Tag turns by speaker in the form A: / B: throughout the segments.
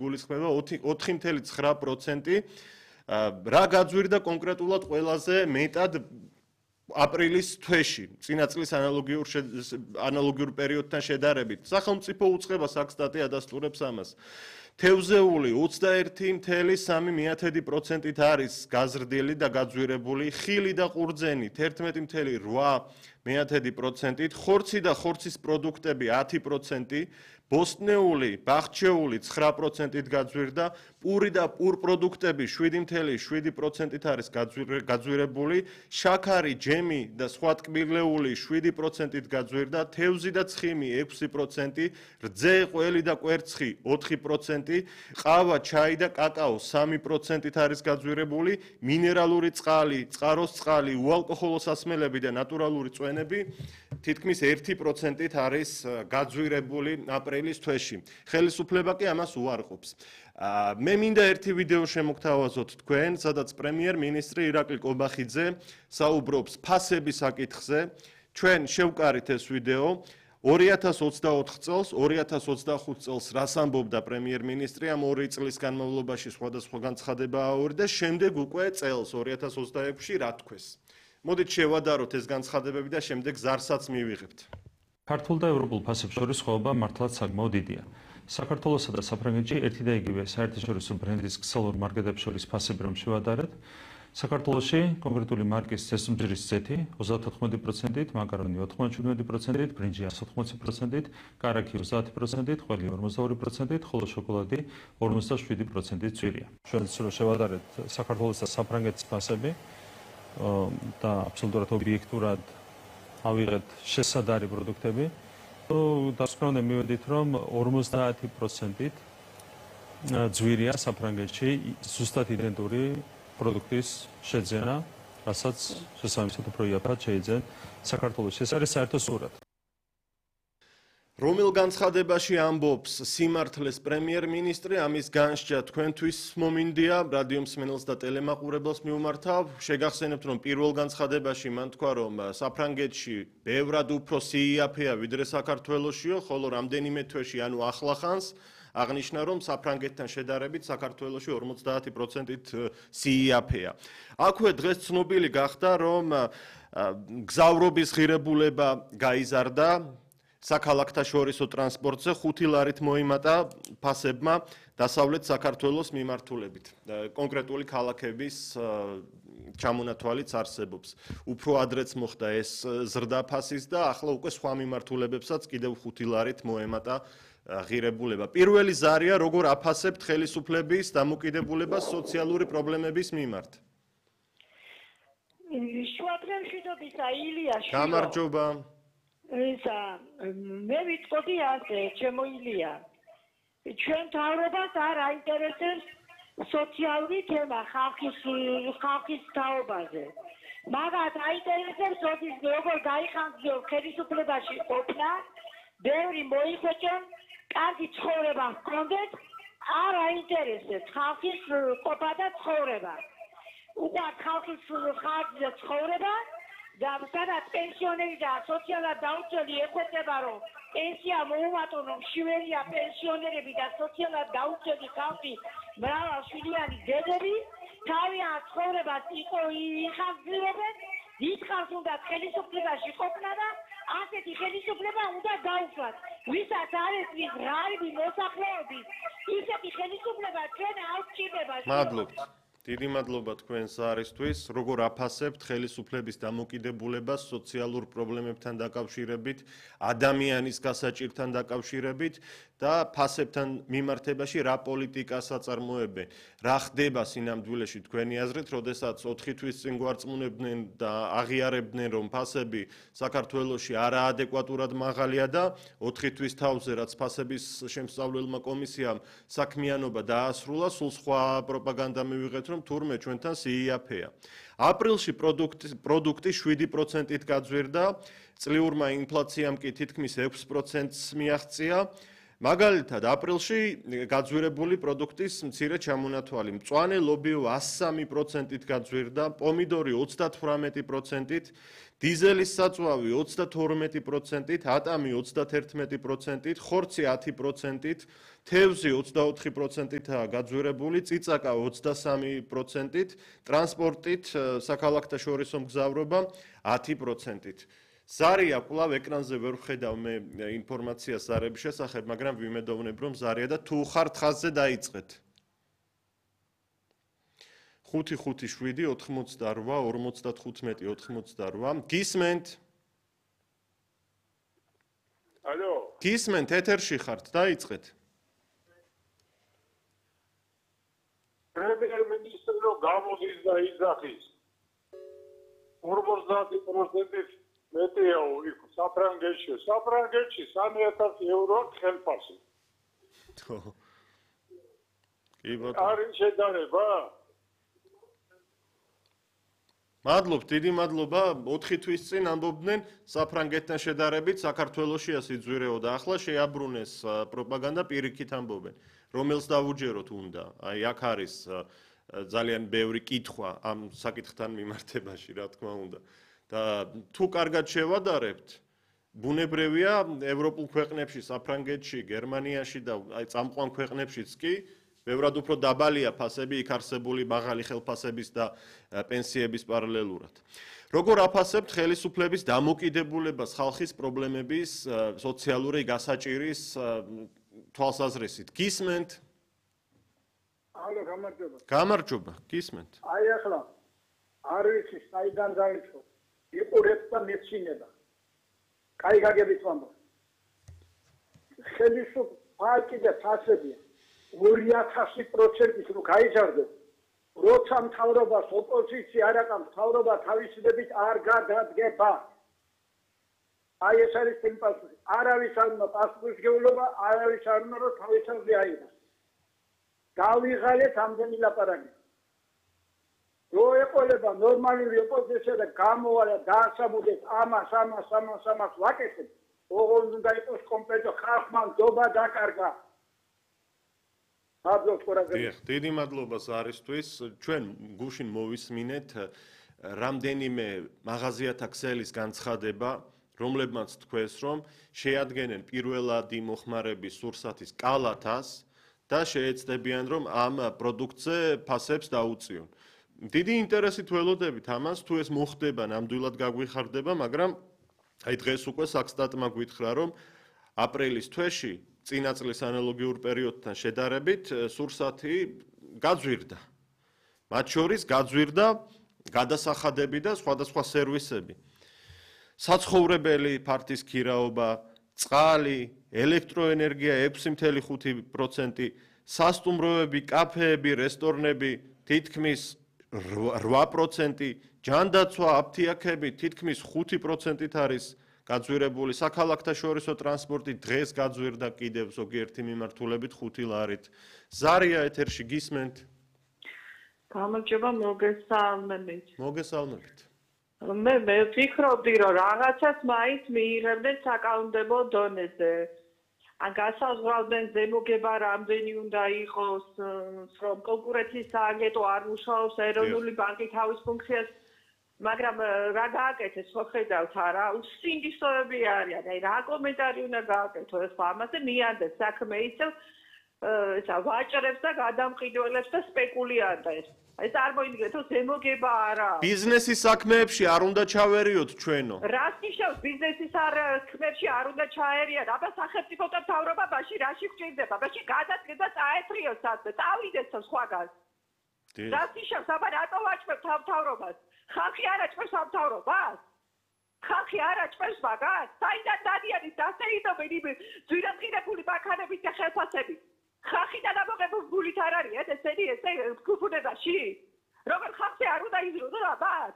A: გულისხმება 4.9%. რა გაძვირდა კონკრეტულად ყველაზე მეტად აპრილის თვეში, წინა წლის ანალოგიურ პერიოდთან შედარებით. სახელმწიფო უწყებას აკსტატი ადასტურებს ამას. თევზეული 21.3%-ით არის გაზრდილი და გაძვირებული, ხილი და ყურძენი 11.8%-ით, ხორცი და ხორცის პროდუქტები 10%, ბოსტნეული, ბახჩეული 9%-ით გაძვირდა, პური და პურ პროდუქტები 7.7%-ით არის გაძვირებული, შაქარი, ჯემი და სხვა ტკბილეული 7%-ით გაძვირდა, თევზი და ცხიმი 6%, რძე, ყველი და კვერცხი 4%, ყავა, ჩაი და კაკაო 3%-ით არის გაძვირებული, მინერალური წყალი, წყაროს წყალი, უალკოჰოლო სასმელები და ნატურალური წვენები თითქმის 1%-ით არის გაძვირებული აპრილის თვეში. ხელისუფლება კი ამას უარყოფს. მე მინდა ერთი ვიდეო შემოგთავაზოთ თქვენ, სადაც პრემიერ-მინისტრი ირაკლი კობახიძე საუბრობს ფასების საკითხზე. ჩვენ შევკარით ეს ვიდეო. 2024 წელს, 2025 წელს რას ამბობდა პრემიერ-მინისტრი ამ 2 წლის განმავლობაში სხვადასხვა განცხადება აურდა, შემდეგ უკვე წელს 2026-ში რა თქვეს. მოდით შევადაროთ ეს განცხადებები და შემდეგ ზარსაც მივიღებთ.
B: ქართულ და ევროპულ ფასებს შორის სხვაობა მართლაც საკმაოდ დიდია. საქართველოსა და საფრანგეთში ერთი და იგივე საერთაშორისო ბრენდის ქსელურ მარკეტებს შორის ფასები რომ შევადარეთ, საქართველოში კონკრეტული მარკის ცესუმძირის ზეთი 34%-ით, მაკარონი 97%-ით, ბრინჯი 180%-ით, კარაქი 30%-ით, ყველი 42%-ით, ხოლო შოკოლადი 57%-ით ძვირია. ჩვენ შევადარეთ საქართველოს და საფრანგეთის ფასები და აბსოლუტურად ობიექტურად ავიღეთ შესადარი პროდუქტები. დასკვნამდე მივედით, რომ 50%-ით ძვირია საფრანგეთში ზუსტად იდენტური პროდუქტის შეძენა, რასაც შესაბამისად უფრო იაფად შეიძენ საქართველოში. ეს არის საერთო სურათი.
A: რომელ განცხადებაში ამბობს სიმართლეს პრემიერ-მინისტრი, ამის განსჯა თქვენთვის მომინდია, რადიო მსმენელს და ტელემაყურებელს მივმართავ. შეგახსენებთ, რომ პირველ განცხადებაში მან თქვა, რომ საფრანგეთში ბევრად უფრო სიიაფეა ვიდრე საქართველოშიო, ხოლო რამდენიმე თვეში, ანუ ახლახანს აღნიშნა, რომ საფრანგეთთან შედარებით საქართველოში 50%-ით სიიაფეა. აქვე დღეს ცნობილი გახდა, რომ გზავრობის ღირებულება გაიზარდა საქალაქთა შორისო ტრანსპორტზე 5 ლარით მოიმატა ფასებმა დასავლეთ საქართველოს მიმართულებით. კონკრეტული ქალაქების ჩამონათვალიც არსებობს. უფრო ადრეც მოხდა ეს ზრდა ფასის და ახლა უკვე სხვა მიმართულებებსაც კიდევ 5 ლარით მოემატა ღირებულება. პირველი ზარია, როგორ აფასებთ ხელისუფლების დამოკიდებულებას სოციალური პრობლემების მიმართ.
C: შუადღემშვიდობისა ილია შვიდო.
A: გამარჯობა.
C: მე ვიტყოდი ასე, ჩემო ილია. ჩვენ თავრობას არ აინტერესებს სოციალური თემა ხალხის თაობაზე. მაგათ აინტერესებს როგორ გაიხანგძლიო ხელისუფლებაში ყოფნა, ბევრი მოიხვეჭონ, კარგი ცხოვრება ჰქონდეთ, არ აინტერესებს ხალხის ყოფა და ცხოვრება. უყვართ ხალხის ხარჯზე ცხოვრება და სადაც პენსიონერი და სოციალურად დაუცველი ეხვეწება, რომ პენსია მოუმატონ, რომ მშიველია პენსიონერები და სოციალურად დაუცველი ხალხი, მრავალშვილიანი დედები, თავიანთ ცხოვრებას იხანგრძლივებენ, დიდხანს უნდა ხელისუფლებაში ყოფნა და ასეთი ხელისუფლება უნდა გაუშვათ. ვისაც არ ესმის ღარიბი მოსახლეობის, ისეთი ხელისუფლება ჩვენ არ გვჭირდება.
A: მადლობთ. დიდი მადლობა თქვენს არისთვის. როგორ აფასებთ ხელისუფლების დამოკიდებულებას სოციალურ პრობლემებთან დაკავშირებით, ადამიანის გასაჭირთან დაკავშირებით და ფასებთან მიმართებაში რა პოლიტიკას აწარმოებენ? რა ხდება სინამდვილეში თქვენი აზრით, როდესაც 4 თვის წინ გვარწმუნებდნენ და აღიარებდნენ, რომ ფასები საქართველოში არაადეკვატურად მაღალია და 4 თვის თავზე, რაც ფასების შემსწავლელმა კომისიამ საქმიანობა დაასრულა, სულ სხვა პროპაგანდა მივიღეთ, რომ თურმე ჩვენთან სიიაფეა. აპრილში პროდუქტი 7%-ით გაძვირდა, წლიურმა ინფლაციამ კი თითქმის 6%-ს მიაღწია. მაგალითად, აპრილში გაძვირებული პროდუქტის მცირე ჩამონათვალი, მწვანე ლობიო 103%-ით გაძვირდა, პომიდორი 38%-ით, დიზელის საწვავი 32%-ით, ატამი 31%-ით, ხორცი 10%-ით, თევზი 24%-ითაა გაძვირებული, წიწაკა 23%-ით, ტრანსპორტით საქალაქთაშორისო მგზავრობა 10%-ით. ზარია კვლავ ეკრანზე ვერ ვხედავ მე ინფორმაციას ზარების შესახებ, მაგრამ ვიმედოვნებ, რომ ზარია და თუ ხართ ხაზზე დაიწყეთ. 5-5-7 88 95 გისმენთ?
D: ალო.
A: გისმენთ, ეთერში ხართ, დაიწყეთ.
D: პრემიერ-მინისტრო გამოდის და იძახის. 50%-ით მეტია იქ საფრანგეთში 3000 ევრო ხელფასი.
A: კი ბატონო.
D: არის შედარება?
A: მადლობ, დიდი მადლობა. 4 თვის წინ ამბობდნენ საფრანგეთთან შედარებით საქართველოსია სიძვირეო და ახლა შეაბრუნეს პროპაგანდა პირიქით ამბობენ. რომელს დავუჯეროთ უნდა? აი აქ არის ძალიან ბევრი კითხვა ამ საკითხთან მიმართებაში, რა თქმა უნდა. და თუ კარგად შევადარებთ, ბუნებრივია ევროპულ ქვეყნებში, საფრანგეთში, გერმანიაში და აი წამყვან ქვეყნებშიც კი ბევრად უფრო დაბალია ფასები იქ არსებული მაღალი ხელფასების და პენსიების პარალელურად. როგორ აფასებთ ხელისუფლების დამოკიდებულებას ხალხის პრობლემების სოციალური გასაჭირის თვალსაზრისით? გისმენთ?
D: ალო, გამარჯობა.
A: გამარჯობა, გისმენთ.
D: აი ახლა არ ვიცი საიდან დაიწყო. იყურებს და მეცინება. კაი გაგებით ვამბობ. ხელისუფლება კიდე ფასებია 2000%-ით რო გაიჭარბე. როცა მთავრობას ოპოზიცია არ აყავს, მთავრობა თავისუფლებით არ გადადგება. აი ეს არის სიმპათია. არავის არ უნდა პასუხისმგებლობა, არავის არ უნდა რომ თავისუფლება აიღოს. გავიღალეთ ამდენი ლაპარაკი. რო ეყოლება ნორმალური ოპოზიცია და გამოვალა დაასაბუთებს ამას ვაკეთებ, ოღონდ უნდა იყოს კომპლექტო ხალხმა ნდობა დაკარგა. მადლობთ ყურადღებისთვის.
A: დიდი მადლობა ზარისთვის. ჩვენ გუშინ მოვისმინეთ რამდენიმე მაღაზიათა ქსელის განცხადება, რომლებმაც თქვეს, რომ შეადგენენ პირველადი მოხმარების სურსათის კალათას და შეეცდებიან, რომ ამ პროდუქტზე ფასებს დაუწიონ. დიდი ინტერესით ველოდებით ამას, თუ ეს მოხდება, ნამდვილად გაგვიხარდება, მაგრამ აი დღეს უკვე საქსტატმა გვითხრა, რომ აპრილის თვეში წინა წლის ანალოგიურ პერიოდთან შედარებით სურსათი გაძვირდა. მათ შორის გაძვირდა გადასახადები და სხვადასხვა სერვისები. საცხოვრებელი ფართის ქირაობა, წყალი, ელექტროენერგია 6.5%, სასტუმროები, კაფეები, რესტორნები თითქმის 8%, ჯანდაცვა, აფთიაქები თითქმის 5%-ით არის გაძვირებული. საქალაქთაშორისო ტრანსპორტი დღეს გაძვირდა კიდევ ზოგიერთი მიმართულებით 5 ლარით. ზარია ეთერში გისმენთ?
C: გამარჯობა, მოგესალმებით.
A: მოგესალმებით.
C: მე ვფიქრობდი, რომ რაღაცას მაინც მიიღებდნენ საკანონმდებლო დონეზე. ან გასაზღვრავდნენ ზემოგება რამდენი უნდა იყოს, რომ კონკურენციის სააგენტო არ მუშაობს, ეროვნული ბანკი თავის ფუნქციას, მაგრამ რა გააკეთეს, ხო ხედავთ არა, უსინდისოები არიან, აი რა კომენტარი უნდა გააკეთო, ხო ამაზე მიანდეთ საქმე ისევ ესა ვაჭრებს და გადამყიდველებს და სპეკულიანტებს. აი წარმოიდგინეთ, რომ ზემოგება არა.
A: ბიზნესის საქმეებში არ უნდა ჩავერიოთ ჩვენო.
C: რას ნიშნავს ბიზნესის საქმეებში არ უნდა ჩაერიან? აბა სახელმწიფო და მთავრობა მაშინ რაში გვჭირდება? მაშინ გადადგება წაეთრიოს სადმე, წავიდეს სხვაგან. რას ნიშნავს? აბა რატო ვაჭრებთ მთავრობას? ხალხი არ აჭრებს მთავრობას? ხალხი არ აჭრებს მაგას? საიდან დადიანის დასეიდობენ იმ ძვირადღირებული ბანკანების და ხელფასებით? ხალხიდან ამოღებული არ არის ესე გუფუნებაში? როგორ ხალხი არ უნდა იზრუნოს აბათ?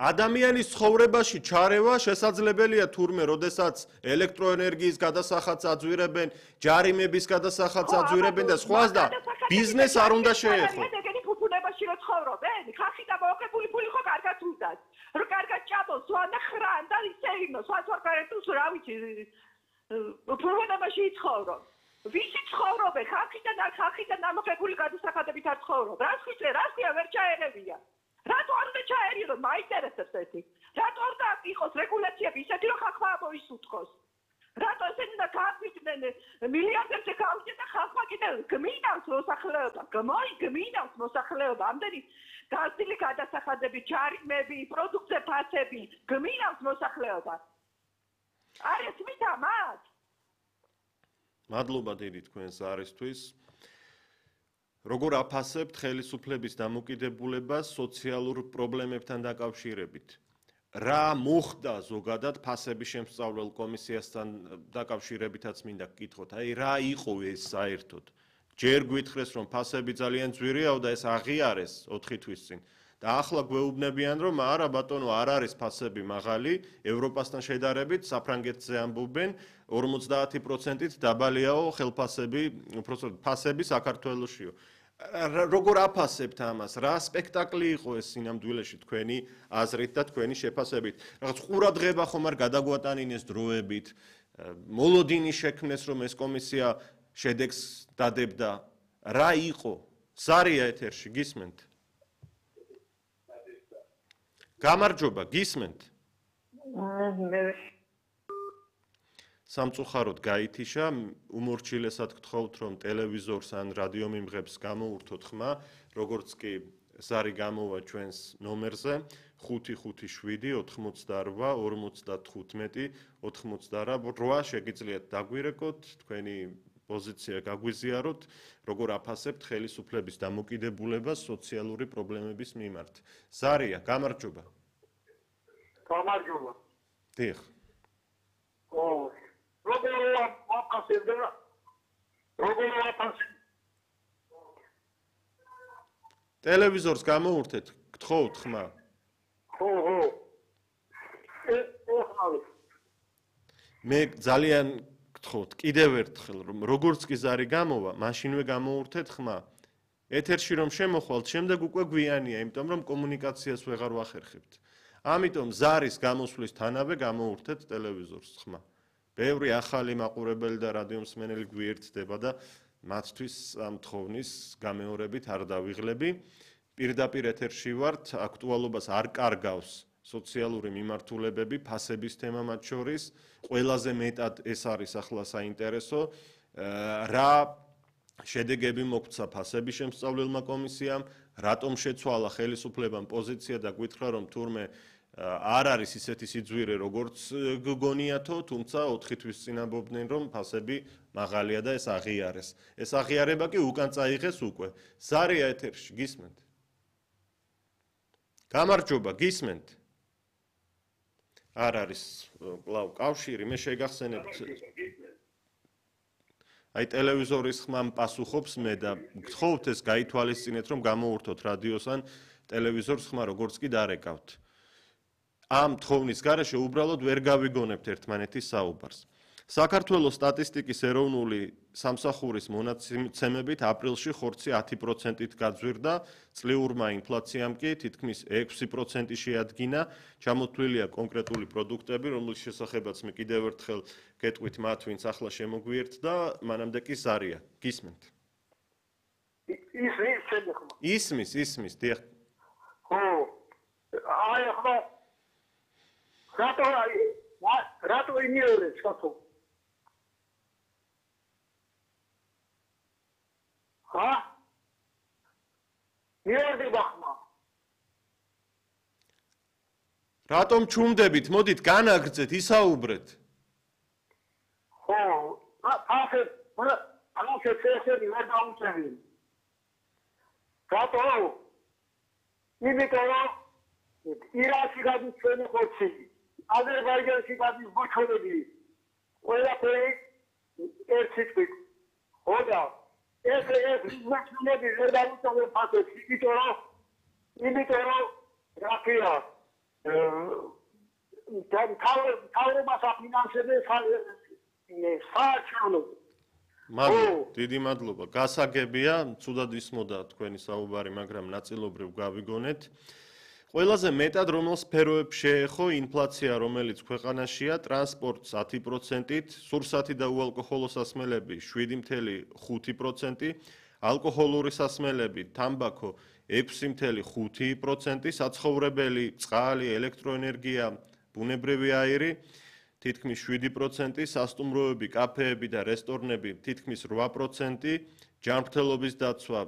A: ადამიანის ცხოვრებაში ჩარევა შესაძლებელია თურმე, როდესაც ელექტროენერგიის გადასახადს აძვირებენ, ჯარიმების გადასახადს აძვირებენ და სხვას და ბიზნეს არ უნდა შეეხო.
C: ეგენი გუფუნებაში რო ცხოვრობენ, ხალხი და მოყებული ფული ხო კარგად უნდათ. რო კარგად ჭამოს, სვანა ხრან და ისე იმო, სვას ვარგარეთუს რა ვიცი. გუფუნებაში იცხოვრო. ვისი ცხოვრობენ? ხალხიდან ამოღებული გადასახადებით არ ცხოვრობ. რასია ვერ ჩაერევია. რატო არ უნდა ჩაერიო? მაინტერესებს ეს. რატო არ უნდა იყოს რეგულაციები ისეთი, რომ ხალხმა მოისუთხოს? რატო ესენი უნდა გააგვიდნენ მილიარდებზე გავიდნენ და ხალხმა კიდევ გმინავს მოსახლეობა. გმინავს მოსახლეობა. ამდენი გაზრდილი გადასახადები, ჯარიმები, პროდუქტზე ფასები, გმინავს მოსახლეობა. არ ესმით ამას?
A: მადლობა დიდი თქვენს არისთვის. როგორ აფასებთ ხელისუფლების დამოკიდებულებას სოციალურ პრობლემებთან დაკავშირებით? რა მოხდა ზოგადად ფასების შემსწავლელ კომისიასთან დაკავშირებითაც მინდა გკითხოთ. აი რა იყო ეს საერთოდ? ჯერ გვითხრეს რომ ფასები ძალიან ძვირიაო და ეს აღიარეს 4 თვის წინ. და ახლა გვეუბნებიან რომ არა ბატონო არ არის ფასები მაღალი, ევროპასთან შედარებით საფრანგეთზე ამბობენ 50%-ით დაბალიაო ხელფასები, უბრალოდ ფასები საქართველოსშიო. როგორ აფასებთ ამას? რა სპექტაკლი იყო ეს სინამდვილეში თქვენი აზრით და თქვენი შეფასებით? რაღაც ყურადღება ხომ არ გადაგვატანინეს დროებით? მოლოდინი შექმნეს რომ ეს კომისია შედეგს დადებდა. რა იყო? ზარია ეთერში გისმენთ? გამარჯობა, გისმენთ? სამწუხაროდ გაითიშა, უმორჩილესად გთხოვთ რომ ტელევიზორს ან რადიომიმღებს გამოურთოთ ხმა, როგორც კი ზარი გამოვა ჩვენს ნომერზე 557 88 45 88 შეგიძლიათ დაგვირეკოთ, თქვენი პოზიცია გაგვიზიაროთ, როგორ აფასებთ ხელისუფლების დამოკიდებულებას სოციალური პრობლემების მიმართ. ზარია, გამარჯობა.
D: გამარჯობა.
A: დიახ.
D: როგორ აფასებდა?
A: ტელევიზორს გამოურთეთ, გთხოვთ ხმა.
D: ხო.
A: მე ძალიან გთხოვთ, კიდევ ერთხელ რომ როგორც კი ზარი გამოვა, მაშინვე გამოურთეთ ხმა. ეთერში რომ შემოხვალთ, შემდეგ უკვე გვიანია, იმიტომ რომ კომუნიკაციას ვეღარ ვახერხებთ. ამიტომ ზარის გამოსვლის თანავე გამოურთეთ ტელევიზორს ხმა. ბევრი ახალი მაყურებელი და რადიომსმენელი გვიერთდება და მათთვის ამ თხოვნის გამეორებით არ დავიღლები. პირდაპირ ეთერში ვართ, აქტუალობას არ კარგავს სოციალური მიმართულებები, ფასების თემა მათ შორის, ყველაზე მეტად ეს არის ახლა საინტერესო, რა შედეგები მოგვცა ფასების შემსწავლელმა კომისიამ, რატომ შეცვალა ხელისუფლებამ პოზიცია და გითხრა რომ თურმე არ არის ისეთი სიძვირე როგორც გგონიათო, თუმცა 4 თვის წინ ამბობდნენ რომ ფასები მაღალია და ეს აღიარეს. ეს აღიარება კი უკან წაიღეს უკვე. ზარია ეთერში გისმენთ? გამარჯობა, გისმენთ? არ არის კлау კავშირი, მე შეგახსენებთ. აი ტელევიზორის ხმამ პასუხობს მე და გთხოვთ ეს გაითვალისწინეთ რომ გამოურთოთ რადიოს ან ტელევიზორს ხმა როგორც კი დარეკავთ. ამ თხოვნის გარეშე უბრალოდ ვერ გავიგონებთ ერთმანეთის საუბარს. საქართველოს სტატისტიკის ეროვნული სამსახურის მონაცემებით აპრილში ხორცი 10%-ით გაძვირდა, წლიურმა ინფლაციამ კი თითქმის 6% შეადგინა. ჩამოთვლილია კონკრეტული პროდუქტები, რომლის შესახებაც მე კიდევ ერთხელ გეტყვით მათ, ვინც ახლა შემოგვიერთდა, მანამდე კი ზარია. გისმენთ? ისმის, დიახ.
D: ხო. აი ახლა რატო იმიორებს ხათო? მიერდი ბახმა.
A: რატომ ჩუმდებით? მოდით განაგრძეთ, ისაუბრეთ.
D: ხო, ამას წესები ვერ დაუწევი. რატო? იმიტომ რომ ირანში გადის ჩვენი ხორცი, აზერბაიჯანში გადის ბოჩოლები. ყველაფერი ერთი თვით. ხო და ეს მაშინები ვერ დაუწევენ ფასებს, იმიტომ რომ რაფია თავრობას აფინანსებს საარჩევნო.
A: დიდი მადლობა. გასაგებია, ცუდად ისმოდა თქვენი საუბარი, მაგრამ ნაწილობრივ გავიგონეთ. ყველაზე მეტად რომელ სფეროებს შეეხო ინფლაცია, რომელიც ქვეყანაშია, ტრანსპორტს 10%-ით, სურსათი და უალკოჰოლო სასმელები 7.5%, ალკოჰოლური სასმელები, თამბაქო 6.5%, საცხოვრებელი, წყალი, ელექტროენერგია, ბუნებრივი აირი თითქმის 7%, სასტუმროები, კაფეები და რესტორნები თითქმის 8%, ჯანმრთელობის დაცვა